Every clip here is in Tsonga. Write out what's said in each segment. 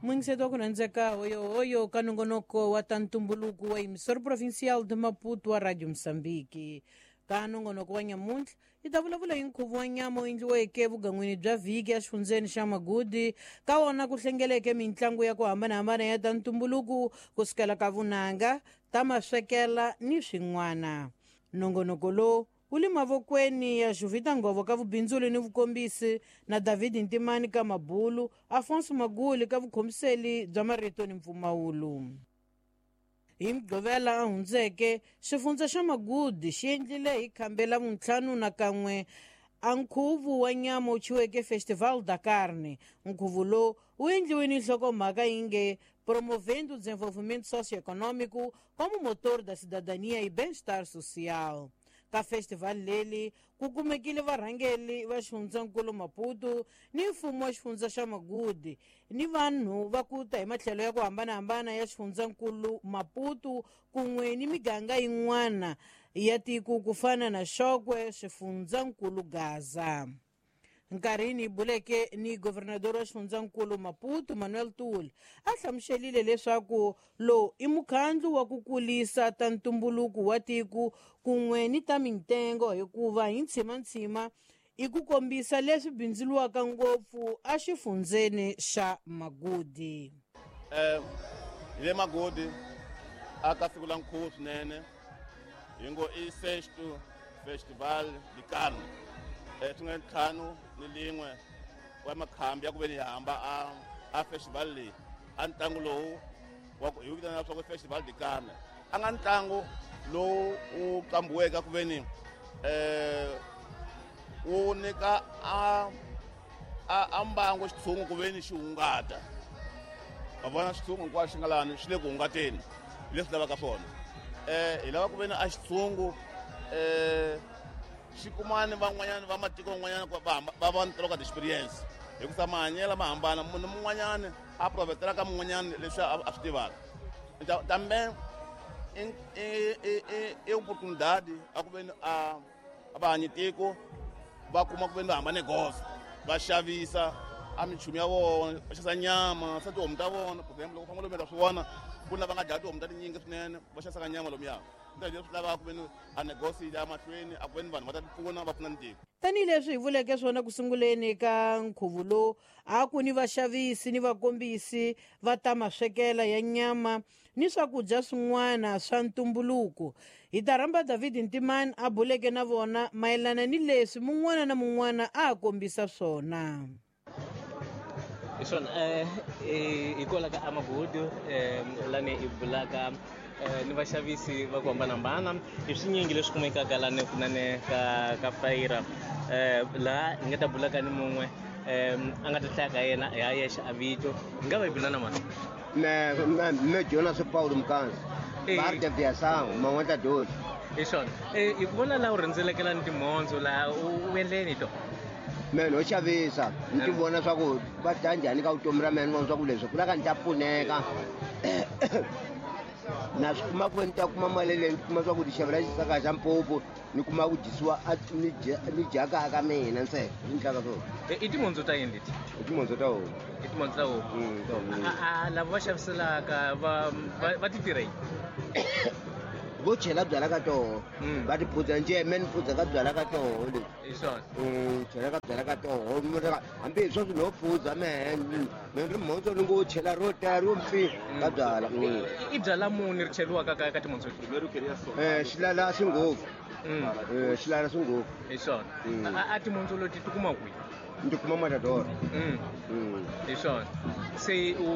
Mwingiseto wa ku rhandzeka hoyohoyo ka nongonoko wa ta ntumbuluko wa emissora provincial de Maputo wa Radio Moçambique. Ka nongonoko wa nyamuntlha hi ta vulavula hi nkhuvo wa nyama wu endliweke evugan'wini bya vhiki exifundzeni xa Magudi. Ka wona ku hlengeleke mitlangu ya ku hambanahambana ya ta ntumbuluko ku sukela ka vunanga, ta maswekela ni swin'wana. Nongonoko lowu wu le mavokweni ya Juvita Ngovo ka vubindzuli ni vukombisi na David Ntimani ka mabulu, Afonso Maguli ka vukhomiseli bya marito ni mpfumawulo. Hi Mugqivela a hundzeke, xifundza xa Magudi xi endlile hi khambe la vuntlhanu na kan'we a nkhuvo wa nyama wu thyiweke Festival da Carne. Nkhuvo lowu wu endliwe ni nhlokomhaka yi nge Promovendo o Desenvolvimento Socioeconômico como Motor da Cidadania e Bem-Estar Social. Ka festival leli ku kumekile varhangeli va xifundzankulu Maputo ni mfumo wa xifundza xa Magudi ni vanhu va ku ta hi matlhelo ya ku hambanahambana ya xifundzankulu Maputo kun'we ni miganga yin'wana ya tiko ku fana na Xokwe, xifundzankulu Gaza. Nkarhini hi buleke ni governador wa xifundzankulu Maputo Manuel Tuli, a hlamuselile leswaku lowu i mukhandlu wa ku kulisa ta ntumbuluko wa tiko kun'we ni ta mintengo, hikuva hi ntshimantshima i ku kombisa leswi bindzuriwaka ngopfu exifundzeni xa Magudi. Hi le Magudi aka siku la nkhuvo swinene, hi ngo i sexto Festival de Carne. Swi nga 51 wa makhambi ya ku ve ni hamba a festival leyi, a ntlangu lowu wa ku hi wu vitana swa ku Festival de Carne, a nga ntlangu lowu wu qambiweke ku ve ni wu nyika a mbangu xitshungu ku ve ni xi hungata. Va vona xitshungu hinkwaswo xi nga lani xi le ku hungateni, hi leswi lavaka swona. Hi lava ku ve ni a xitshungu xi kumani van'wanyana va matiko van'wanyana ku va va ni ka experience, hikusa mahanyelo ma hambana, munhu mun'wanyana a provetela ka mun'wanyana leswi a swi tivaka. Tambe i oportunidade a ku ve ni a va hanyi tiko va kuma ku ve ni va hambane goza, va xavisa a minchumu ya vona, va xavisa nyama swa tihomu ta vona. For example, loko famba lomu swi vona ku na va nga dlaya tihomu ta tinyingi swinene, va xavisaka nyama lomuya. Leswi lavaka ku ve ni a negosi ya mahlweni, a ku ve ni vanhu va ta ti pfuna, va pfuna ni tiko. Tanihileswi hi vuleke swona ku sunguleni ka nkhuvo lowu, a ku ni vaxavisi ni vakombisi va ta maswekela ya nyama ni swakudya swin'wana swa ntumbuluko. Hi ta rhamba David Ntimani a buleke na vona mayelana ni leswi mun'wana na mun'wana a kombisa swona. Hi swona, hi kwala ka Amagudu, lani hi bulaka ni vaxavisi va ku hambanahambana hi swinyingi leswi kumekaka lani kunene ka fayira. Laha hi nga ta bulaka ni mun'we, a nga ta hlaya ka yena hi a yexe a vito. Hi nga va hi bula na mani? Me Jonas Paulo Mkanzi. Bar de Viação, Man'weta Dozi. Hi swona. Hi ku vona laha u rhendzelekela ni timhondzo laha, u endleni to? Me no xavisa, ni ti vona swa ku va dya njhani ka vutomi ra mina, ni vona swa ku leswi ku lava ni ta pfuneka. Na swi kuma ku ni ta kuma mali leyi, ni kuma swa ku ti xavela xisaka xa mpopo, ni kuma ku dyisiwa ni dya, ni dya kaya ka mina ntsena, ni endlaka swona. I timhondzo ta yini leti? I timhondzo ta homu. I timhondzo ta homu. Ta homu. Lava va xaviselaka va ti tirha yini? Vo chela byala ka toho. Va ti phudza njhe, me ni phudza ka byala ka toho leswi. Hi swona. Chela ka byala ka toho. Hambi hi sweswi no phudza mehe, me ri mhondzo ni ngo chela ro tala ro mpfi ka byala. I byala muni ri cheriwaka ka timhondzo leti? Xilala swi ngopfu. Xilala swi ngopfu. Hi swona. A timhondzo leti ti kuma kwihi? Ndzi kuma Matador. Hi swona. Se u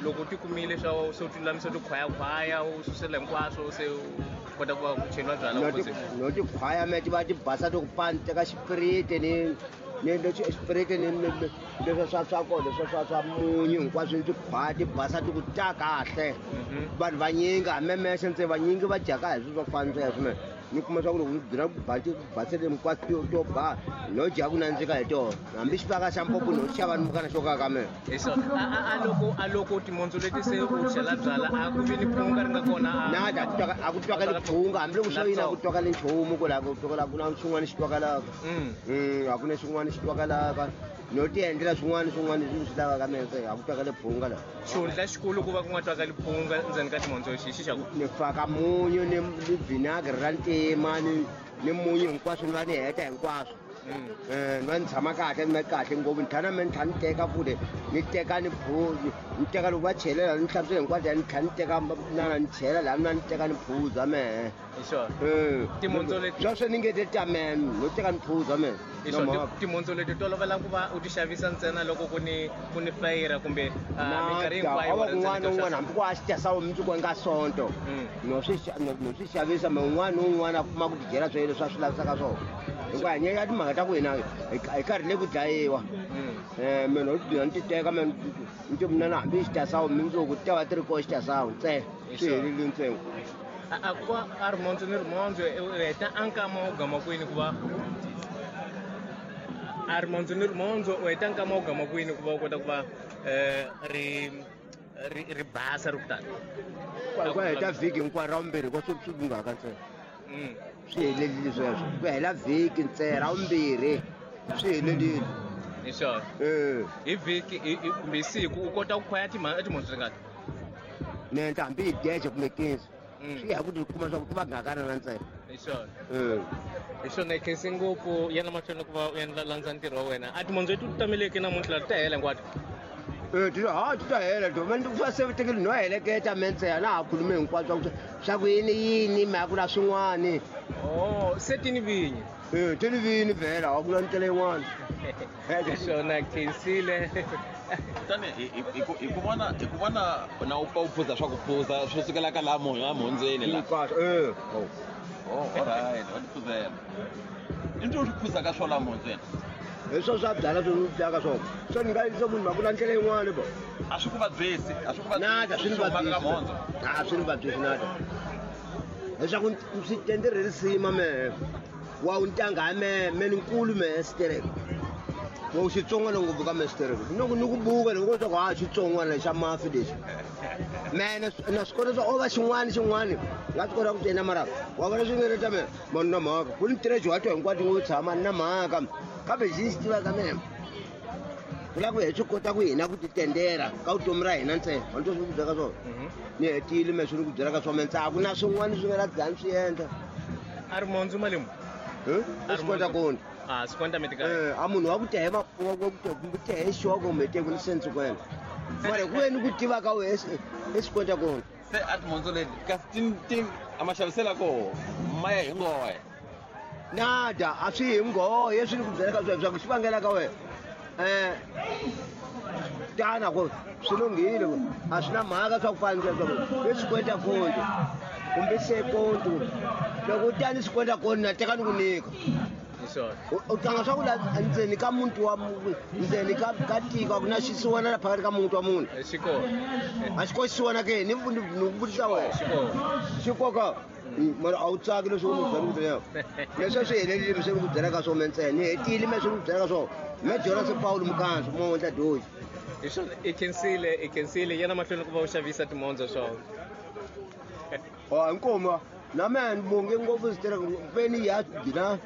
loko ti kumile swa se u ti lulamisa ti khwayakhwaya, u susela hinkwaswo, se u kota ku va ku cheriwa byala ku se. No ti khwaya me ti va ti basa ti ku pani, teka xipiriti ni ni leswi xipiriti ni leswi swa kona, leswi swa munyu hinkwaswo ti khwaya ti basa ti ku ta kahle. Vanhu vanyingi hamemese ntse vanyingi va dyaka hi swilo swa ku fana sweswo me. Ni kuma swa ku loko ni byela ku basele hinkwaswo to ba, no dya ku nandzika hi tona. Hambi xivaka xa mpopo no xava ni mukana xo ka ka mina. Hi swona. A loko timhondzo leti se u chela byala, a ku vi ni phunga ri nga kona, a Na, a ku twaka, a ku twakali phunga, hambi loko swo yini a ku twakali nchumu ku la ku twakala, ku na xin'wana xi twakalaka. A ku na xin'wana xi twakalaka. No ti endlela swin'wana swin'wana leswi swi lavaka mina se a ku twakale phunga la. Xihundla xikulu ku va ku nga twakali phunga ndzeni ka timhondzo xi xa ku ni faka munyu ni vinagre ra ntima ni munyu hinkwaswo ni va ni heta hinkwaswo. Ni va ni tshama kahle ni va kahle ngopfu ni tlhela na me ni tlhela ni teka futhi ni teka ni ni teka loko va chelela ni hlantswile hinkwaswo ni tlhela ni teka na ni chela laha na ni teka ni phuza mehe. Hi swona. Timhondzo leti sweswo ni nge te ta mehe no teka ni phuza mehe. Hi swona timhondzo leti tolovela ku va u ti xavisa ntsena loko ku ni fayira kumbe minkarhi hinkwayo. A va kun'wana na un'wana hambi ku a xi tesa mundzuku nga sonto no swi xavisa me un'wana na un'wana a kuma ku tidyela swo leswi a swi lavisaka swona. Hikuva hi nyenya timhaka ta ku hina hi karhi le ku dlayiwa. Mina no ti ni ti teka me ni ti mina na hambi xi tasawu mundzuku ti ta va ti ri koho xi tasawu ntsena swi helile ntsengo. A ku va a rimondzo ni rimondzo u heta a nkama wo gama kwini ku va a rimondzo ni rimondzo u heta nkama wo gama kwini ku va u kota ku va ri basa ri ku tani. Ku heta vhiki hinkwaro ra vumbirhi ko swi lunghaka ntsena. Swi helelile sweswo ku hela vhiki ntsena ra vumbirhi swi helelile. Hi swona. Hi vhiki kumbe siku u kota ku khwaya timhondzo tingati? Ni endla hambi hi 10 kumbe 15. Swi ya ku ti kuma swa ku va ngakana na ntsena. Hi swona. Hi swona hi khensi ngopfu yana mahlweni ku va u endla landza ntirho wa wena. A timhondzo leti u tameleke namuntlha ti ta hela hinkwato? Ti ta hela to mani ku se tekeli no heleketa me ntsena na ha khulume hinkwaswo swa ku yini yini mhaka ku na swin'wani. Oh, se ti ni vinyi. Ti ni vinyi vhela a ku na ndlela yin'wana. Hi swona khensile. Tani hi ku vona na u pfa u phuza swa ku phuza swo sukela ka laha mhondzweni la. Hinkwaswo. Oh, alright, wa ti phuzela. I ntho swi phuzaka swo laha mhondzweni. Hi swo swa byala swi dyaka swona. So ni nga yisa munhu ku na ndlela yin'wana bo. A swi ku vabyisi, a swi ku vabyisi. Nada swi ni vabyisi. A swi ni vabyisi nada. Leswaku swi tendere risima mehe. Wa u ntanga me me nkulu me sterek. Wa u xitsongwana ngopfu ka me sterek. Ni ku buka loko swa ku ha xitsongwana xa mafi lexi. Mene na swi kota swa o va xin'wana xin'wana nga swi kota ku tena mara wa vona swi nga ri ta me mani na mhaka ku ni tirhe wa to hinkwato ngo tshama na mhaka kambe xi xi tivaka mina ku lava ku hi swi kota ku hina ku ti tendera ka vutomi ra hina ntsena wa ni swi ku byela ka swona ni hetile me swi ni ku byela ka swona ntsena a ku na swin'wana swi nga la dzani swi endla. A ri mondzo malimu? I swi kota kona. A swi kota mi tika. A munhu wa ku tehe wa ku tehe xoko kumbe teku ni sense kwena. Mara ku yini ku tiva ka wehe i swi kota kona. Se a timhondzo leti kasi ti a ma xavisela koho ma ya hi nghohe. Nada a swi hi nghohe swi ni ku byela ka swona swa ku xi vangela ka wena. Tana ku swi lunghile a swi na mhaka swa ku fana leswaku i swi kweta konto kumbe se konto loko u tani swi kweta konto na teka ni ku nyika. U tlanga swa ku la ndzeni ka muti wa ndzeni ka tiko a ku na xisiwana la phakathi ka muti wa munhu. Xi kona. A xi kona xisiwana ke ni ku vutisa wena. Xi kona. Mara a wu tsaki leswi u ni byela ku byela. Leswi swi helelile swi ku byela ka swona ntsena ni hetile me swi ku byela ka swona. Me Jonas Paul Mukanzo mo endla doji. Hi swona i khensile yana mahlweni ku va u xavisa timhondzo swona. Oh inkomo na mina ni bonge ngopfu swi peni ya gina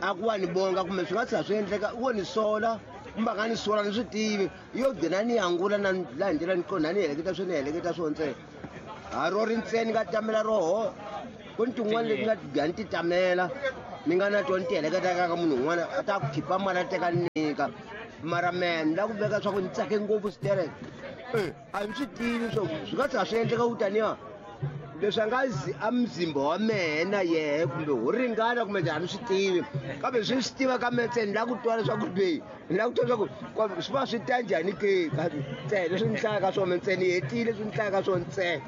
a ku va ni bonga kumbe swi nga tlhela swi endleka wo ni sola kumbe a nga ni sola ni swi tivi yo gcina ni angula na laha hi ndlela ni kona ni heleketa swo ni heleketa swo ntsena. Ha ro ri ntsena ni nga tamela roho ku ni tin'wana leti nga gani ti tamela ni nga na tona ti heleketa ka munhu un'wana a ta ku khipa mali a teka ni nyika mara mehe ni lava ku veka swa ku ni tsake ngopfu switereke. A ni swi tivi swo swi nga tlhela swi endleka ku taniya leswi a nga a mzimba wa mehe na yehe kumbe ho ringana kumbe njhani swi tivi kambe swi swi tiva ka mehe ntsena ni lava ku twa leswaku leyi ni lava ku twa leswaku swi va swi ta njhani ke ntsena leswi ni hlayaka swona me ntsena ni hetile leswi ni hlayaka swona ntsena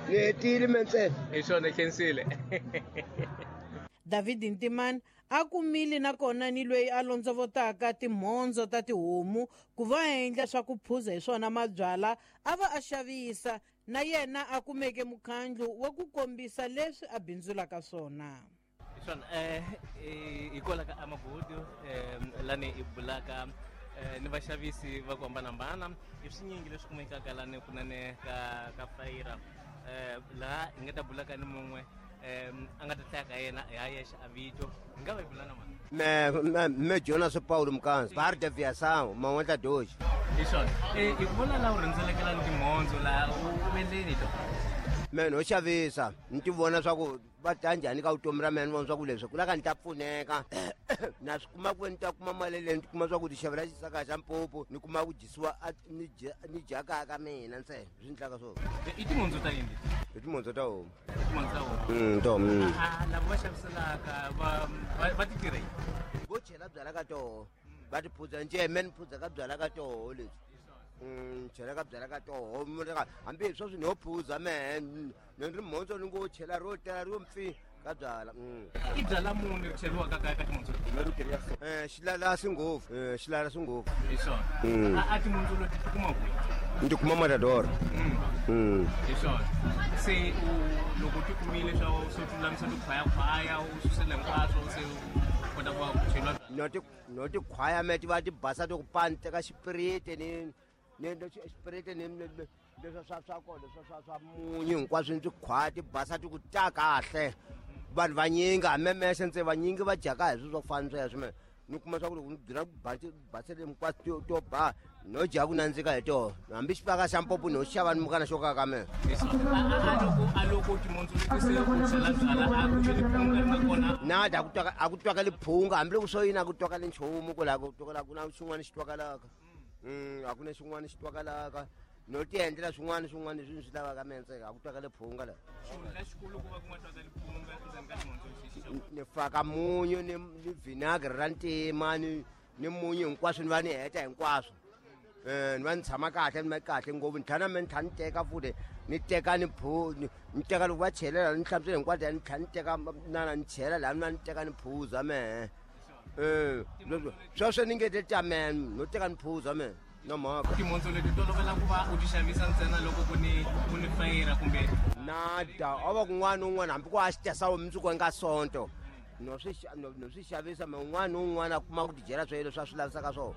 ni hetile me ntsena. Hi swona khensile. David Ntimani a kumile nakona ni loyi a londzovotaka timhondzo ta tihomu ku va endla swa ku phuza hi swona mabyala a va a xavisa na yena a kumeke mukhandlu wa ku kombisa leswi a bindzulaka swona. Hi swona hi kwala ka Amagudu lani hi bulaka ni vaxavisi va ku hambanahambana i swinyingi leswi kumekaka lani kunene ka fayira laha hi nga ta bulaka ni mun'we a nga ta hlaya ka yena hi ha yexe a vito hi nga va hi bula na mani. Me Jonas Paulo Mkanzi bar de aviação Maonda 2. Hi swona hi ku vona laha u rhendzelekela timhondzo laha u endleni to? Me no xavisa ni ti vona swa ku va ta njhani ka vutomi ra mina, ni vona swa ku leswi ku lava ni ta pfuneka na swi kuma ku ni ta kuma mali leyi ni kuma swa ku ti xavela xisaka xa mpopo ni kuma ku dyisiwa ni dya kaya ka mina ntsena swi ndlaka swona. I timhondzo ta yini? I timhondzo ta homu. Timhondzo ta homu. Ta homu. Lava va xaviselaka va ti tirha yini? Vo chela byala ka toho va ti phudza njhe me ni phudza ka byala ka toho lebyi. Chela ka byala ka toho hambi hi sweswi ni ho phuza mehe ni ri mhondzo ni ngo chela ro tela ro mpfi ka byala. I byala muni ri cheriwaka kaya ka timhondzo? Xilalasi ngopfu, xilalasi ngopfu. Hi swona. A timhondzo leti ti kuma kwihi? Ni ti kuma Matador. Hi swona. Se u loko ti kumile swa swo lulamisa tikhwayakhwaya u susela hinkwaswo se u kota ku va ku cheriwa? No tikhwaya me ti va ti basa ti ku pani teka xipiriti ni xipiriti ni leswi swa kona leswi swa munyu hinkwaswo ni tikhwaya ti basa ti ku ta kahle. Vanhu vanyingi hamemese ntse vanyingi va dyaka hi swilo swa ku fana sweswo me ni kuma swa ku loko ni byela basele hinkwaswo to ba no dya ku nandzika hi toho hambi xipaka xa mpopo no xava ni mukana xo kaka me. A loko timhondzo leti se u chela byala a ku vi liphunga ri nga kona? Nada, a ku twakali phunga hambiloko swo yini a ku twakali nchumu ku laha ku twakala ku na xin'wana xi twakalaka. A ku na xin'wana xi twakalaka no ti endlela swin'wana swin'wana leswi ni swi lavaka me ntsena a ku twakali phunga laha. Xihundla xikulu ku va ku nga twakali phunga endzeni ka timhondzo lexi xa ni faka munyu ni vinagre ra ntima ni munyu hinkwaswo ni va ni heta hinkwaswo. Ni va ni tshama kahle ni va kahle ngopfu ni tlhela na me ni tlhela ni teka futhi ni teka ni ni teka loko va chelela ni hlamusela hinkwaswo ni tlhela ni teka na ni chela laha ni va ni teka ni phuza mehe. Sweswo ni nge te ta mehe no teka ni phuza mehe na mhaka. Timhondzo leti tolovela ku va u ti xavisa ntsena loko ku ni fayira kumbe? Nada, a va kun'wana na un'wana hambi ku a xi tesa mundzuku nga Sonto no swi xavisa me un'wana na un'wana a kuma ku tidyela swilo leswi a swi lavisaka swona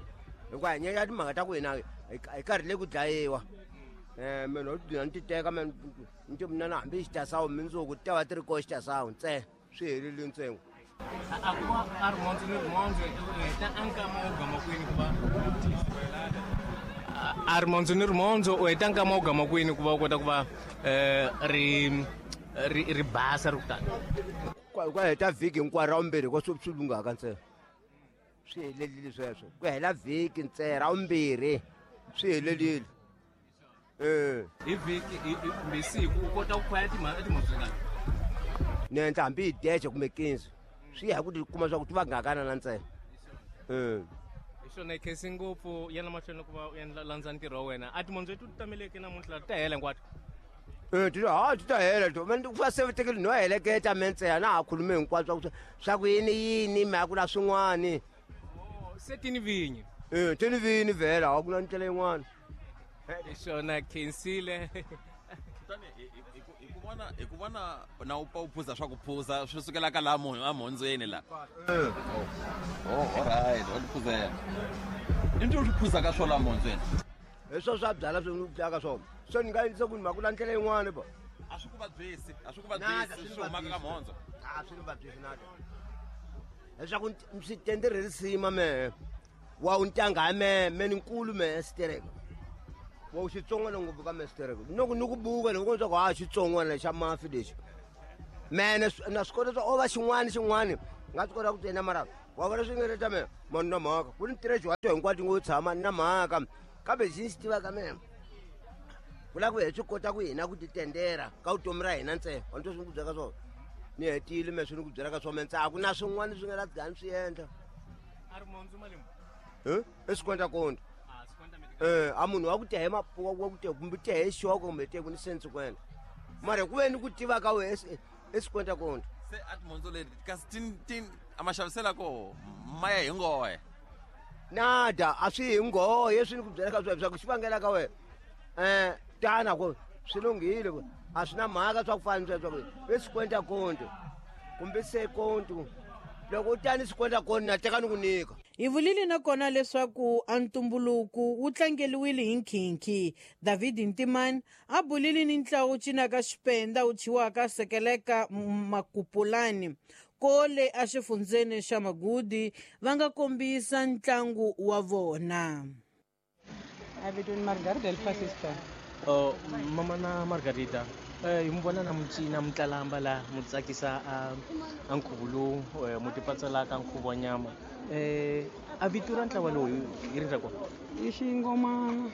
hikuva hi nyenya timhaka ta ku hina hi karhi le ku dlayiwa. Me no dina ni ti teka me ni ti mina na hambi xi tasawu mundzuku ti ta va ti ri koho xi tasawu ntsena swi helile ntsengo. A ku va a rimhondzo ni rimhondzo u heta a nkama wo gama kwini ku va a rimhondzo ni rimhondzo u heta nkama wo gama kwini ku va u kota ku va ri basa ri ku tani? Ku heta vhiki hinkwaro ra vumbirhi ko swi lunghaka ntsena swi helelile sweswo ku hela vhiki ntsena ra vumbirhi swi helelile. Hi vhiki kumbe siku u kota ku khwaya timhondzo tingani? Ni endla hambi hi deje kumbe 15 swi ya hi ku ti kuma swa ku ti va ngakana na ntsena. Hi swona hi khensi ngopfu yana mahlweni ku va u endla landza ntirho wa wena. A timhondzo leti u ti tameleke namuntlha ti ta hela hinkwato? Ti ta hela to va sevetekile no heleketa me ntsena na ha khulume hinkwaswo swa ku yini yini mhaka ku la swin'wani. Se ti ni vinyi? Ti ni vinyi vhela a ku na ndlela yin'wana. Hi swona khensile. Kutani hi ku vona na u pfa u phuza swa ku phuza swi sukela ka laha mhondzweni laha. Alright, wa ti phuzela. I ntwi u swi phuzaka swo laha mhondzweni? Hi swo swa byala swi ni dlaka swona. Se ni nga endlisa ku ni mhaka la ndlela yin'wana ba. A swi ku vabyisi, a swi ku vabyisi swi humaka ka mhondzo. A swi ni vabyisi nada. Leswaku swi tendere risima mehe. Wa u ntanga mehe, me ni nkulu mehe xitereko. Wa u xitsongwana ngopfu ka mehe xitereko. Loko ni ku buka loko swa ku ha xitsongwana xa mafi lexi. Mehe na swi kota swa o va xin'wana xin'wana nga swi kota ku tsena mara wa vona swi nga ta mehe mani na mhaka ku ni tirhe wa hinkwato ngo tshama na mhaka kambe lexi ni xi tivaka mehe ku lava ku hi swi kota ku hina ku titendera ka vutomi ra hina ntsena wa ni twa swi ni ku byela ka swona ni hetile me swi ni ku byela ka swona me ntsena a ku na swin'wana swi nga la gani swi endla. A ri mhondzo mali muni? I 50. A munhu wa ku tehe wa ku tehe kumbe tehe xoko kumbe tehe ku ni sense kwena mara ku ve ni ku tiva ka wehe i 50. Se a timhondzo leti kasi ti a ma xavisela koho ma ya hi ngohe? Nada, a swi hi nghohe swi ni ku byela ka swona swa ku xi vangela ka wena. Tana ku swi lunghile ku a swi na mhaka swa ku fana sweswo ku i 50 kumbe 50 loko u tani 50 na teka ni ku nyika. Hi vulile nakona leswaku a ntumbuluko wu tlangeliwile hi nkhinkhi. David Ntimani a bulile ni ntlawa wu cinaka xipenda wu thyiwaka Sekeleka Makupulani. Kole exifundzeni xa Magudi va nga kombisa ntlangu wa vona. Avitweni Margarita Elfasista. Oh, mama na Margarita, hi mi vona na mucina mutlalamba la mu tsakisa a nkhuvo lowu mu tipatsalaka nkhuvo wa nyama. A vito ra ntlawa lowu hi ri ra kona? I xingomana.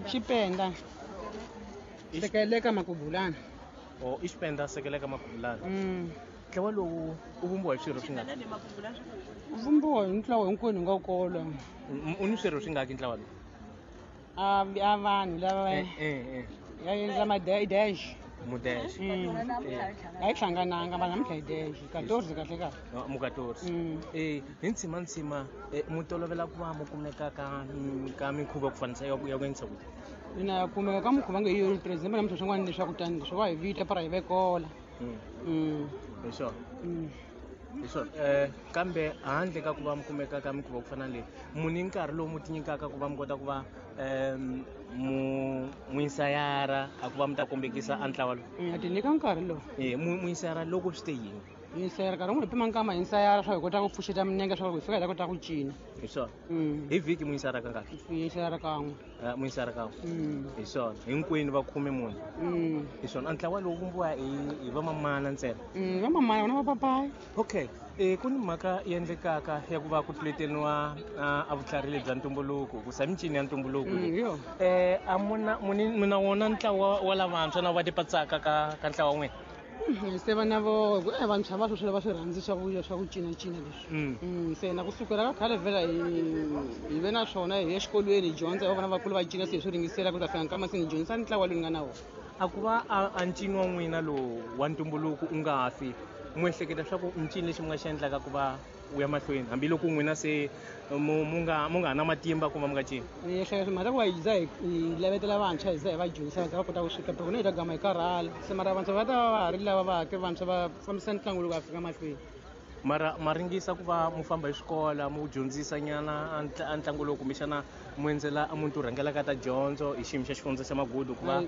Xipenda. Sekeleka Makubulana. Oh, i Xipenda sekeleka Makubulana. Ntlawa lowu u vumbiwa hi swirho swingaki? U vumbiwa hi ntlawa hinkwenu hi nga kolo. U ni swirho swingaki ntlawa lowu? A vanhu lava ya endla ma-dash. Mudash. A yi hlangananga vanhu namuntlha hi dash. 14 kahle kahle. Mu 14. Hi ntshima mu tolovela ku va mu kumeka ka minkhuvo ya ku fanisa ya ku endlisa ku yini? Ina kumeka ka mukhuva nge yo president namuntlha swin'wana leswaku tani leswi wa hi vita para hi vekola. Hi swona. Hi swona. Kambe handle ka ku va mi kumeka ka mikhuva ku fana na leyi, mu ni nkarhi lowu mu tinyikaka ku va mi kota ku va mu insayara a ku va mi ta kombekisa a ntlawa lowu? A ti nyika nkarhi lowu. Mu insayara loko swi te yini? Insayara nkarhi wun'we hi pima nkama hi insayara swa hi kota ku pfuxeta minenge swa ku hi fika hi ta kota ku cina. Hi swona. Hi vhiki mu insayara kangaki? Hi insayara kan'we. Mu insayara kan'we. Hi swona. Hinkwenu va khume mune. Hi swona. A ntlawa lowu vumbiwa hi vamamana ntsena? Vamamana vona vapapayi. Okay. Ku ni mhaka yi endlekaka ya ku va ku tluleteliwa a vutlhari lebyi bya ntumbuluko, ku sa mincino ya ntumbuluko leyi. A muna wona ntlawa wa lavantshwa na va tipatsaka ka ntlawa wa n'wina? Se vana vo vantshwa va sweswi va swi rhandzi swa ku cinacina leswi. Se na kusukela ka khale vhela hi ve na swona hi ya exikolweni hi dyondza hi vona vakulu va cina se hi swi ringisela ku ta fika nkama se ni dyondzisa ntlawa lowu ni nga na wona. A ku va a ncino wa n'wina lowu wa ntumbuluko u nga fi, mu ehleketa swa ku ncino lexi mi nga xi endlaka ku va u ya mahlweni hambiloko n'wina se mu nga ha na matimba ku va mi nga cini? Ni ehleketa mhaka ku va hi za hi lavetela vantshwa hi za hi va dyondzisa va za va kota ku sweka loko hi ta gama hi karhala se mara vantshwa va ta va va ha ri lava va hake vantshwa va fambisa ntlangu loko va fika mahlweni. Mara ma ringisa ku va mu famba hi swikola mu dyondzisa nyana a ntlangu lowu kumbexana mu endzela a munhu rhangelaka ta dyondzo hi xiyimo xa xifundza xa Magudu ku va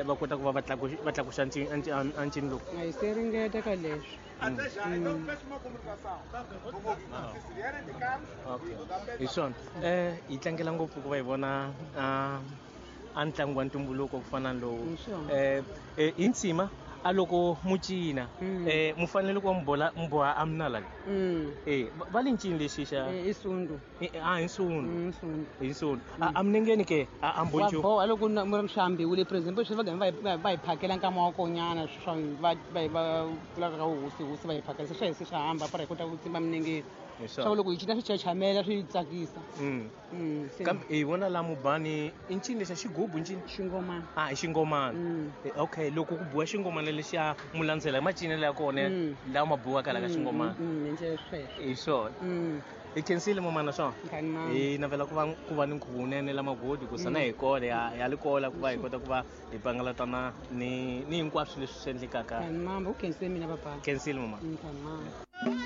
va kota ku va va tlakuxa a ncino lowu? A hi se ringeta ka leswi. Okay. Hi swona. Hi tlangela ngopfu ku va hi vona a ntlangu wa ntumbuluko ku fana na lowu. Hi ntshima a loko mu cina mu fanele ku va mu boha a minala leyi. Va le ncini lexi xa? I sundu. Hi nsundu. Nsundu. Hi nsundu. A minengeni ke a mbonjo. Wa boha loko mu ri swi for example swi va gama va hi phakela nkama wa konyana swa va va pfulaka ka hosi hosi va hi phakela se swa hi se swa hamba para hi kota ku tsimba minengeni. Swa loko hi cina swi chachamela swi tsakisa. Kambe hi vona la mubani i ncini lexa xigubu ncini? Xingomana. I xingomana. Okay, loko ku biwa xingomana lexiya mu landzela hi macinelo ya kona lawa ma biwaka la ka xingomana. Hi swona. Hi khensile mamana swona. Hi navela ku va ni nkhuvo wunene la Magodi ku sana hi kona ya li kola ku va hi kota ku va hi pangalatana ni hinkwaswo leswi swi endlekaka. Mama, u khensile mina papa. Khensile mama. Mama.